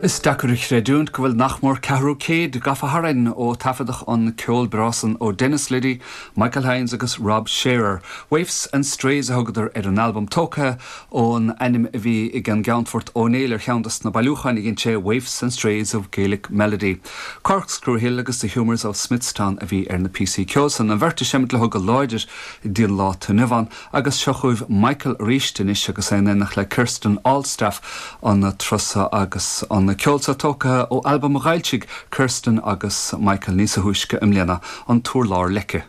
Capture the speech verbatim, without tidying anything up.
Is deacair a chreidiúint go bhfuil nach mór ceathrú céid gafa tharainn ó taifeadadh an ceol breá san ó Dennis Liddy, Michael Hynes agus Rob Shearer. Waifs and Strays a thugadar ar an albam tógtha ón ainm a bhí ag an gCeannfort Ó Néill ar cheann des na bailiúcháin a dhein sé Waifs and Strays of Gaelic Melody. Corkscrew Hill agus The Humours of Smithstown a bhí ar na píosaí ceoil san an bheirt ag seimint leo go láidir don lá inniu ann agus seo chugaibh Michael arís anois agus é in éineacht le Kirsten Allstaff an turas seo agus an ceol seo tógtha ó albam a d'fhoilsigh Kirsten agus Michael níos túisce i mbliana an tUrlár Leice.